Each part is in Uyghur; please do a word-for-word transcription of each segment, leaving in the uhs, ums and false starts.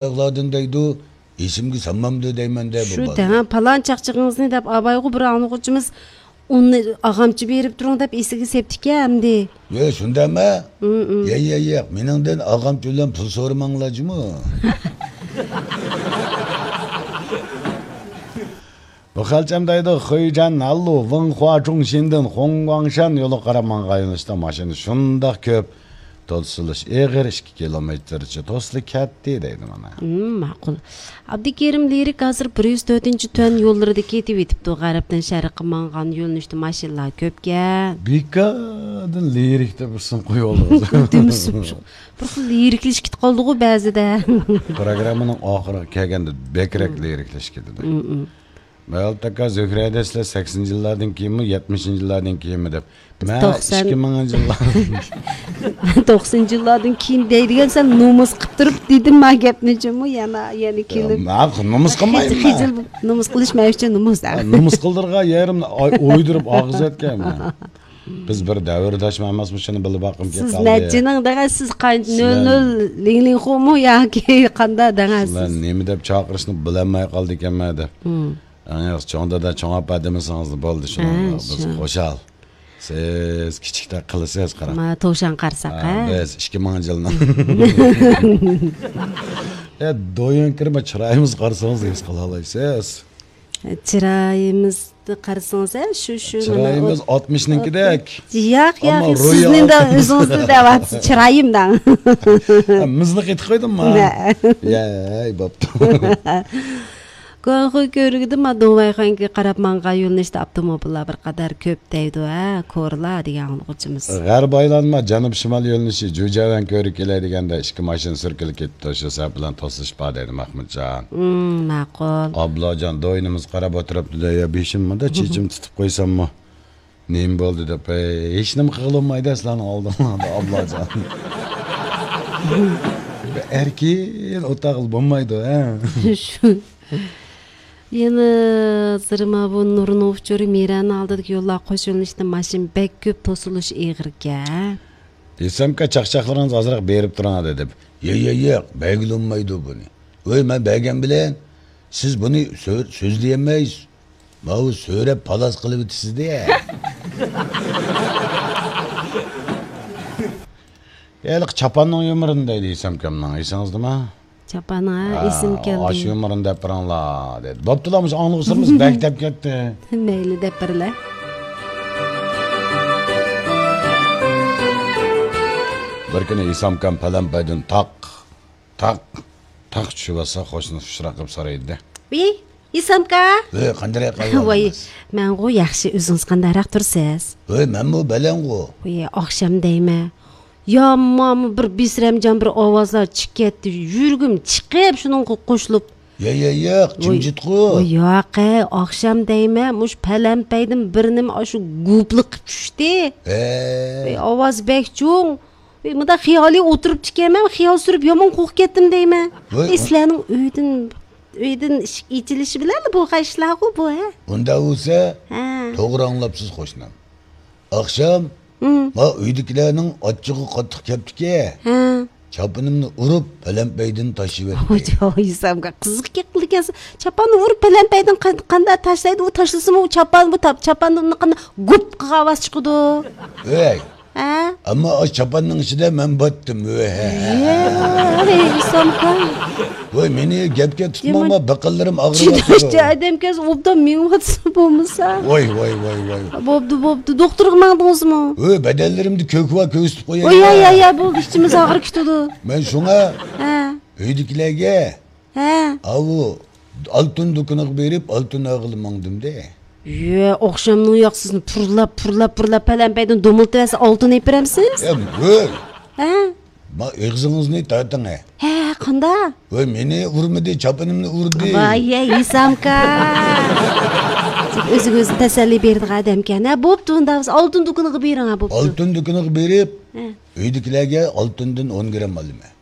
ئاياغلاردىن دەيدۇ، ئېسىمگە سالمامدۇ دەيمەن-دە، بۇ شۇ بالىنى. دەڭ، پالان چاقچىقىڭىزنى دەپ، ئاۋايغۇ بىر ئاڭلىغۇچىمىز ئۇنى ئاغامچە بېرىپ تۇرۇڭ دەپ ئېسىگە سېپتىكەن ئەمدى. يە، شۇنداقمۇ؟ ئۇم، ئۇم. يە، يە، ياق، مېنىڭدىن ئاغامچە بىلەن پۇل سورىماڭلار جۇمۇ. بۇ خەلچەم دەيدۇ، خۇيجەن ناللۇ، ۋېڭخۇا جۇڭشىندىن خۇڭگۇاڭشەن يولىغا قاراپ ماڭغان يۆنىلىشتە ماشىنا شۇنداق كۆپ، توسۇلۇش ئېغىر، ئىككى كىلومېتىرچە توسۇلۇپ كەتتى دەيدۇ مانا. ھىم، ماقۇل. ئابدۇكېرىم لىرىك ھازىر بىر يۈز تۆتىنچى تۈەن يوللىرىدا كېتىۋېتىپتۇ. غەربتىن شەرققە ماڭغان يۆنىلىشتە ماشىنىلار كۆپكەن. بىكاردىن لىرىك دەپ ئىسىم قويۇۋالدىڭىز. دېمىسۇن، شۇ بىر خىل لىرىكلىشىپ كېتىپ قالدىغۇ بەزىدە. پروگراممىنىڭ ئاخىرىغا كەلگەندە بەكرەك لىرىكلىشىپ كېتىدۇ. ھىم، ھىم. مەۋلۇت ئاكا، زۆھرە دەيسىلەر سەكسىنىنچى يىللاردىن كېيىنمۇ، يەتمىشىنچى يىللاردىن كېيىنمۇ دەپ. مەن توقسان. ئىككى مىڭىنچى يىللار. توقسىنىنچى يىللاردىن كېيىن دەيدىگەن، سەن نومۇس قىپ تۇرۇپ دېدىم ما گەپنى جۇمۇ، يەنە، يەنە كېلىپ. مەن نومۇس قىلمايمەن. خىجىل، نومۇس قىلىش مەن ئۈچۈن نومۇس. نومۇس قىلدۇرغان يېرىمنى ئوي-، ئويدۇرۇپ ئاغزىۋەتكەنمەن. بىز بىر دەۋرداشمۇ ئەمەسمۇ، شۇنى بىلىپ باققۇم كېلىپ قالدى. سىز نەچچىنىڭ دەڭە، سىز قان-، نۆل نۆل لىڭ لىڭخۇمۇ ياكى قاندا دەڭە سىز؟ سىلەر نېمە دەپ چاقىرىشنى بىلەلمەي قالدىكەنمەن دەپ. ھىم. ئەڭ ياخشى چوڭ دادا، چوڭ ئاپا دېمىسىڭىزلا بولدى، شۇنىڭ ھە، بىز شۇ. خۇشال. سىز كىچىكتەك قىلىسىز، قاراڭ. ما، توشان قارىساق، ھە، ھە؟ بىز ئىككى مىڭىنچى يىلنىڭ. يا، دويۇنكىرما چىرايىمىزغا قارىسىڭىز ھېس قىلالايسىز. چىرايىمىزنى قارىسىڭىز، ھە، شۇ، شۇ، چىرايىمىز مانا ئاتمىشنىڭكىدەك. ياق، ياق، ئەمما روھى سىزنىڭ ئاتمىش. ئۆزىڭىزنى دەۋاتىسىز، چىرايىم دەڭ. ھە، مىزنى قېتىپ قويدۇمما؟ ھە. يەي، بوپتۇ. گۇاڭخۇي كۆۋرۈكىدە ما دۇڭۋەيخۇەنگە قاراپ ماڭغان يۆنىلىشتە ئاپتوموبىللار بىر قەدەر كۆپ دەيدۇ، ھە، كورلا دېگەن ئاڭلىغۇچىمىز. غەرب ئايلانما، جەنۇب شىمال يۆنىلىشى جۇجياۋەن كۆۋرۈكى كېلەي دېگەندە ئىككى ماشىنا سۈركىلىپ كېتىپتۇ، شۇ سەۋەب بىلەن توسۇلۇش بار دەيدۇ مەخمۇتجان. ھىم، ماقۇل. ئابلاجان دوينىمىز قاراپ ئولتۇرۇپتۇ-دە، يا بېشىممۇ-دە، چېچىمنى تۇتۇپ قويساممۇ؟ نېمە بولدى دەپ، ھېچنېمە قىلغىلى بولمايدۇ سىلەرنىڭ ئالدىڭلاردا، ئابلاجان. بىر ئەركىن ئولتۇرغىلى بولمايدۇ، ھە؟ شۇ. يەنە زىرىما بۇ نۇرنىڭ ئۇچۇرى مىرەنىڭ ئالدىدىكى يوللار قوش يۆنىلىشتە ماشىنا بەك كۆپ، توسۇلۇش ئېغىركەن. ئېسەمكا، چاقچاقلىرىڭىز ئازراق بېرىپ تۇرۇڭ دەپ. ياق، ياق، ياق، بەرگىلى بولمايدۇ بۇنى. ۋەي، مەن بەرگەن بىلەن سىز بۇنى سۆ-، سۆزلىيەلمەيسىز. ماۋۇ سۆرەپ پالاس قىلىۋېتىسىز-دە. ھېلىقى چاپاننىڭ يۇمۇرىنى دەيدۇ ئېسەمكامنىڭ، ئېسىڭىزدىمۇ؟ چاپان، ھە، ھە، ئېسىمگە كەلدى. ئاشۇ يۇمۇرىنى دەپ بېرىڭلار، دېدى. بوپتۇلا، مۇشۇ ئاڭلىغۇچىلىرىمىز بەك دەپ كەتتى. مەيلى، دەپ بېرىلە. بىر كۈنى ئېسەمكام پەلەمپەيدىن تاق، تاق، تاق چۈشۈۋاتسا، قوشنىسى ئۇچراق قىلىپ سورايدۇ-دە. ۋىي، ئېسەمكا! ۋەي، قانداق ئەھۋالىڭىز؟ ۋاي، مەنغۇ ياخشى، ئۆزىڭىز قانداقراق تۇرسىز؟ ۋەي، مەنمۇ بەلەنغۇ. ۋەي، ئاخشام دەيمەن. يامان بىر بىسرەمجان بىر ئاۋازلار چىقىپ كەتتى. يۈرىكىم چىقىپ شۇنىڭغا قوشۇلۇپ. يا، يا، ياق، ۋاي، جىمجىتقۇ. ۋاي، ياق، ئەي، ئاخشام دەيمەن، مۇشۇ پەلەمپەيدىن بىر نېمە ئاشۇ گۇپلىقىپ چۈشتى. ھە. ۋاي، ئاۋاز بەك چوڭ. ۋاي، مۇنداق خىيالىي ئولتۇرۇپتىكەنمەن، خىيال سۈرۈپ يامان قورقۇپ كەتتىم دەيمەن. ۋاي، ئەي، سىلەرنىڭ ئۆيدىن، ئۆيدىن ئىشىك ئېچىلىشى بىلەنلا بولغان ئىشلارغۇ بۇ، ھە؟ ئۇنداق بولسا، ھە، توغرا ئاڭلاپسىز، قوشنام. ئاخشام، ھىم، ما ئۆيدىكىلەرنىڭ ئاچچىقى قاتتىق كەپتىكەن. ھە. چاپىنىمنى ئۇرۇپ، پەلەمپەيدىن تاشلىۋەتتى. ۋاي، ۋاي، ئېسەمكا، قىزىق گەپ قىلىدىكەنسىز. چاپاننى ئۇرۇپ، پەلەمپەيدىن قان-، قانداق تاشلايدۇ؟ ئۇ تاشلىسىمۇ، ئۇ چاپان، بۇ تاپ-، چاپاندىن قانداق گۇپ قىلغان ئاۋاز چىقىدۇ؟ ئۆي. ھە؟ ئەمما ئاشۇ چاپاننىڭ ئىچىدە مەن باتتىم. ۋەي، ھە، ھە. يەي، ئېسەمكا. ۋاي، مېنى گەپكە تۇتماڭما، يامان. بېقىنلىرىم ئاغرىۋاتىدۇ. چىداشچە ئادەمكەنسىز، ئوبدان مېڭىۋاتسا بولمىسا. ۋاي، ۋاي، ۋاي، ۋاي. بوپتۇ، بوپتۇ. دوختۇرغا ماڭدىڭىزمۇ؟ ۋاي، بەدەنلىرىمدە كۆكۈۋا كۆرسىتىپ قوياي. ۋاي، يا، يا، يا، بولدى، ئىچىمىز ئاغرىپ كېتىدۇ. مەن شۇڭا، ھە، ئۆيدىكىلەرگە، ھە، ئاۋۇ ئالتۇن دۇكىنىغا بېرىپ، ئالتۇن ئالغىلى ماڭدىم-دە. يە، ئاخشامنىڭ ياقسىزنى پۇرلاپ، پۇرلاپ، پۇرلاپ، پەلەمپەيدىن دومۇلتىۋەرسە، ئالتۇن ئېلىپ بېرەمسىز؟ ئەم، ھۆي! ھە؟ ما ئېغىزىڭىزنى تارتىڭ، ھە. ھە، قاندا؟ ھۆي، مېنى ئۇرمىدى، چاپىنىمنى ئۇردى. ۋاي، يە، ئېسەمكا. ئۆزىگە ئۆزى تەسەللى بېرىدىغان ئادەمكەن. ھە، بوپتۇ، ئۇنداق بولسا ئالتۇن دۇكىنىغا بېرىڭ، ھە، بوپتۇ. ئالتۇن دۇكىنىغا بېرىپ، ھە، ئۆيدىكىلەرگە ئالتۇندىن ئون گرام ئالىمەن.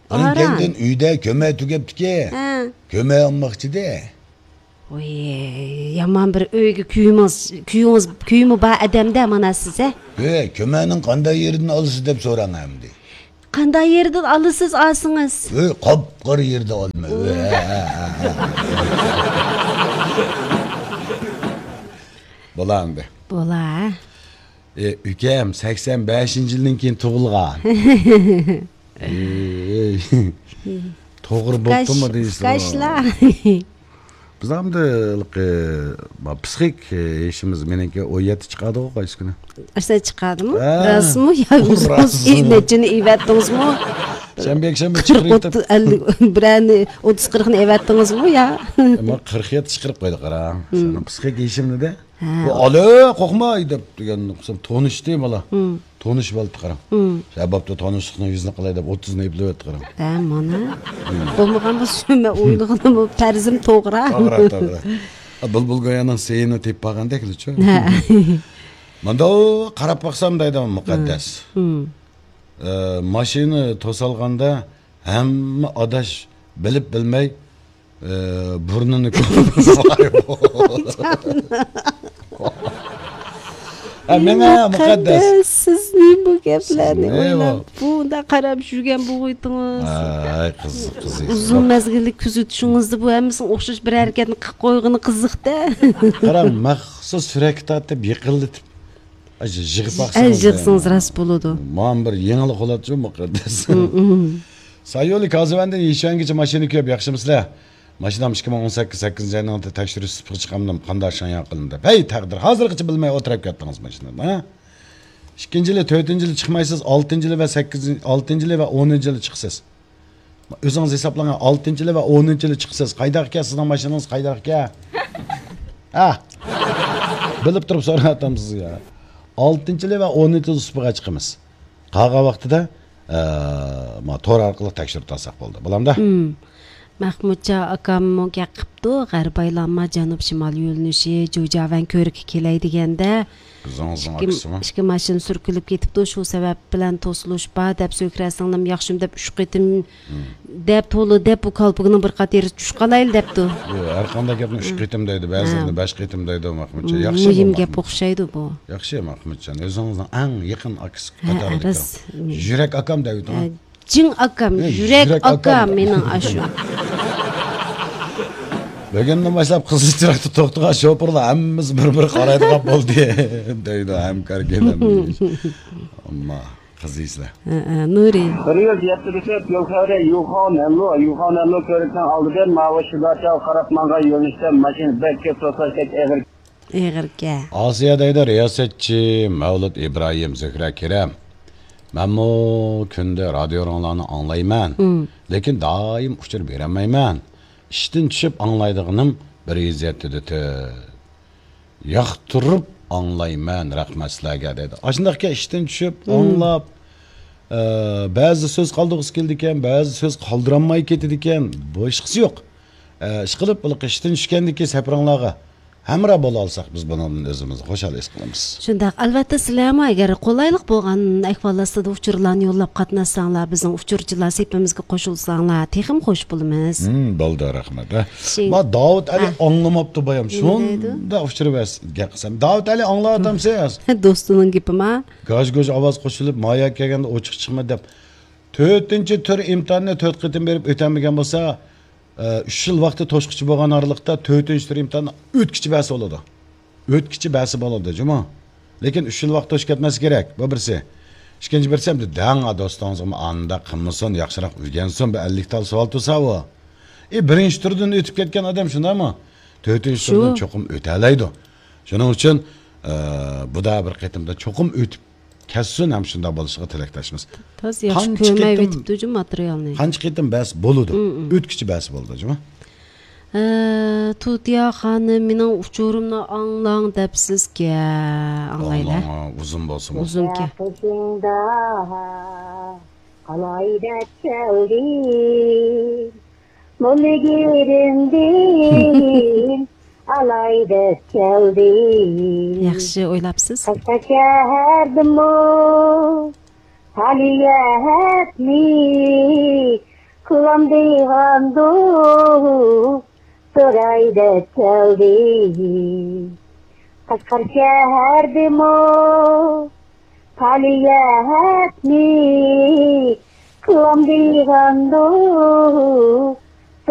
ئۇنىڭ ئاران. كەينىدىن ئۆيدە كۆمە تۈگەپتىكەن. ھە. كۆمە ئالماقچىدە. ۋوي، يامان بىر ئۆيگە كۈيىڭىز، كۈيىڭىز، كۈيىمۇ بار ئادەمدە مانا سىز، ھە؟ ھۆي، كۆمەنىڭ قانداق يېرىدىن ئالىسىز دەپ سوراڭ ئەمدى. قانداق يېرىدىن ئالىسىز ئالسىڭىز؟ ئۆي قاپقارا يېرىدىن ئالىمەن. ئۆي. بولا. بولا. ئە، ئۇكام سەكسەن بەشىنچى يىلدىن كېيىن تۇغۇلغان. ئەي، توغرا بوپتۇمۇ دەيسىز؟ بىز ئەمدى پسىخىك يېشىمىز مېنىڭكى ئون يەتتە چىقادىغۇ قايسى كۈنى؟ ئاشۇنداق چىقادىمۇ؟ ھە. راستمۇ يا ئۆزىڭىز نەچچىنى ئېۋەتتىڭىزمۇ؟ شەنبە يەكشەنبە قىرىق، ئوتتۇز، ئەللىك، بىرەرنى ئوتتۇز قىرىقنى ئەۋەتتىڭىزمۇ يا؟ ئەمما قىرىق يەتتە چىقىرىپ قويدى، قارا. پسىخىك يېشىمنى-دە. ھە. ئالە، قورقما دەپ دېگەن قىلسام، تونۇشتى بالا. تونۇشۇپ ئالدى، قاراڭ. شەبابتا تونۇشلۇقنىڭ يۈزىنى قىلاي دەپ ئوتتۇزنى ئېپلىۋەتتى، قارا. ھە، مانا. بولمىغان بولسا، مەن ئويلىغىنىمۇ پەرزىم توغرا. توغرا، توغرا. بۇلبۇل گويانىڭ سېيىنى تېپىپ قالغاندەكلا-چۇ. ھە. مانداق قاراپ باقسام دەيدۇ مۇقەددەس. ئە، ماشىنا توسالغاندا ھەممە ئاداش بىلىپ بىلمەي، ئە، بۇرنىنى كۆرۈپ. ھە، مېڭە مۇقەددەس. سىز نېمە بۇ گەپلەرنى ئويلاپ، بۇنداق قاراپ يۈرگەن بولغۇيتىڭىز؟ ئاي، قىز، قىز. ئۇزۇن مەزگىللىك كۆزىتىشىڭىزدە بۇ ھەممىسىنىڭ ئوخشاش بىر ھەرىكەتنى قىلىپ قويغىنى قىزىق-دە. قاراڭ، مەخسۇس سۈرەتكە تارتىپ، يېقىنلىتىپ، ئەي، يىغساق يىغسىڭىز راست بولىدۇ. مانا بىر يېڭىلىق بولاتچۇ مۇقەددەس. سايولى كازىۋەندىن يىشۈەنگىچە ماشىنا كۆپ، ياخشىمۇسىلەر؟ ماشىنام ئىككى مىڭ ئون سەككىز سەككىزىنچى ئاينىڭ تەكشۈرۈش سۈپىتىگە چىقامدىم، قانداق شاڭياڭ قىلىندى؟ ھەي تەقدىر، ھازىرغىچە بىلمەي ئولتۇرۇپ كەتتىڭىز ماشىنىدا، ھە؟ ئىككىنچى يىلى، تۆتىنچى يىلى چىقمايسىز، ئالتىنچى يىلى ۋە سەككىزىنچى، ئالتىنچى يىلى ۋە ئونىنچى يىلى چىقىسىز. ئۆزىڭىز ھېسابلاڭ، ئالتىنچى يىلى ۋە ئونىنچى يىلى چىقىسىز. قايداق ئىكەن سىزنىڭ ماشىنىڭىز، قايداق ئىكەن؟ ھە؟ بىلىپ تۇرۇپ سوراۋاتامسىز يا. ئالتىنچى يىلى ۋە ئونىنچى يىلى سۇپىغا چىقىمىز. قالغان ۋاقتىدا، ئە، ما تور ئارقىلىق تەكشۈرۈپ تۇرساق بولدى. بولامدا؟ مەخمۇتجان ئاكاممۇ گەپ قىپتۇ، غەربىي ئايلانما جەنۇب شىمال يۆنىلىشى، جۇجياۋەن كۆرۈككە كېلەي دېگەندە، ئۆزىڭىزنىڭ ئىككى، ئاكىسىمۇ؟ ئىككى ماشىنا سۈركىلىپ كېتىپتۇ، شۇ سەۋەب بىلەن توسۇلۇش بار دەپ، زۆھرە سىڭلىم ياخشىمۇ دەپ ئۈچ قېتىم دەپ، تولا دەپ، بۇ كالپۇكنىڭ بىر قات يېرىگە چۈشۈپ قالايلى دەپتۇ. ياق، ھەر قانداق گەپنى ئۈچ قېتىم دەيدۇ، بەزىلىرىنى بەش قېتىم دەيدۇ، مەخمۇتجان. ياخشى، مۇھىم گەپ ئوخشايدۇ بۇ. ياخشى، مەخمۇتجان. ئۆزىڭىزنىڭ ئەڭ يېقىن ئاكىسى قاتارىدىكى. يۈرەك ئاكام دەۋېتىڭ. جىڭ ئاكام، يۈرەك ئاكام مېنىڭ ئاشۇ. بۈگۈندىن باشلاپ قىزىل چىراغدا توختىغان شوپۇرلار ھەممىمىز بىر-بىر قارايدىغان بولدى، دەيدۇ ھەمكار كېلەم. ئەمما قىزىسىلەر. ھە، ھە، نۇرى. بىر يۈز يەتتە دېسەت يول خەۋىرى يۇخاۋ نەنلۇ، يۇخاۋ نەنلۇ كۆۋرۈكنىڭ ئالدىدىن ماۋۇ شىداچاغا قاراپ ماڭغان يۆنىلىشتە ماشىنا بەك كۆپ توسۇلۇشتەك ئېغىر. ئېغىركەن. ئاسىيە دەيدۇ، رىياسەتچى مەۋلۇت ئىبراھىم، زۆھرە كېرەم. مەنمۇ كۈندە رادىيوڭلارنى ئاڭلايمەن. لېكىن دائىم ئۇچۇر بېرەلمەيمەن. ئىشتىن چۈشۈپ ئاڭلايدىغىنىم بىر يۈز يەتتە دېتى. ياقتۇرۇپ ئاڭلايمەن، رەھمەت سىلەرگە دەيدۇ. ئاشۇنداقكەن ئىشتىن چۈشۈپ، ئاڭلاپ، ئە، بەزى سۆز قالدۇرغۇسى كېلىدىكەن، بەزى سۆز قالدۇرالماي كېتىدىكەن، باشقىسى يوق. ئە، ئىشقىلىپ، بۇ ئىشتىن چۈشكەندىكى سەپىرىڭلارغا ھەمراھ بولالىساق، بىز بۇنىڭدىن ئۆزىمىزنى خۇشال ھېس قىلىمىز. شۇنداق، ئەلۋەتتە، سىلەرمۇ ئەگەر قولايلىق بولغان ئەھۋال ئاستىدا ئۇچۇرلارنى يوللاپ قاتناشساڭلار، بىزنىڭ ئۇچۇرچىلار سېپىمىزگە قوشۇلساڭلار، تېخىمۇ خوش بولىمىز. ھىم، بولدى، رەھمەت. ھە. شىڭ. ما داۋۇت ئەلى ھە. ئاڭلىماپتۇ بايام. نېمە دەيدۇ؟ شۇنداق ئۇچۇر بەس-، گەپ قىلسام. داۋۇت ئەلى ئاڭلاۋاتامسىز؟ دوستىنىڭ گېپىما؟ گاژ-گۇژ ئاۋاز قوشۇلۇپ، مايا كەلگەندە ئوچۇق چىقما دەپ. تۆتىنچى تۈر ئىمتىھاننى تۆت قېتىم بېرىپ ئۆتەلمىگەن بولسا، ئە، ئۈچ يىل ۋاقتى توشقۇچى بولغان ئارىلىقتا تۆتىنچى تۈر ئىمتىھاننى ئۆتكۈچى بەرسە بولىدۇ. ئۆتكۈچى بەرسە بولىدۇ، جۇمۇ. لېكىن ئۈچ يىل ۋاقىت توشۇپ كەتمەسلىكى كېرەك. بۇ بىرسى. ئىككىنچى بىرسى، ئەمدى دەڭ دوستىڭىزغىمۇ ئانداق قىلمىسۇن، ياخشىراق ئۆگەنسۇن، بىر ئەللىك تال سوئال تۇرسا ئۇ. ئى، بىرىنچى تۈردىن ئۆتۈپ كەتكەن ئادەم شۇنداقمۇ؟ تۆتىنچى شۇ. تۈردىن چوقۇم ئۆتەلەيدۇ. شۇنىڭ ئۈچۈن، ئە، بۇدا بىر قېتىمدا چوقۇم ئۆتۈپ كەتسۇن ھەم شۇنداق بولۇشىغا تىلەكداشمىز. تازا ياخشى قانچە قېتىم، كۆرمەيۋېتىپتۇ جۇ ماتېرىيالنى. قانچە قېتىم بەس بولىدۇ؟ ئۆتكۈچە بەس بولىدۇ جۇ. ئە، تۇتىيا خانىم، مېنىڭ ئۇچۇرۇمنى ئاڭلاڭ دەپسىزكە. ئاڭلايلى. ئاڭلاڭ، ئۇزۇن بولسىمۇ. ئۇزۇنكەن. قېشىڭدا قالاي دەپ كەلدىم. موللىگىرىمدىن ئالاي دەپ كەلدىم. ياخشى ئويلاپسىز. قەشقەر شەھەردىمۇ پالىيەتنى قىلامدىغاندۇ سوراي دەپ كەلدىم. قەشقەر شەھەردىمۇ پالىيەتنى كۆڭلۈم بىغەمدۇ،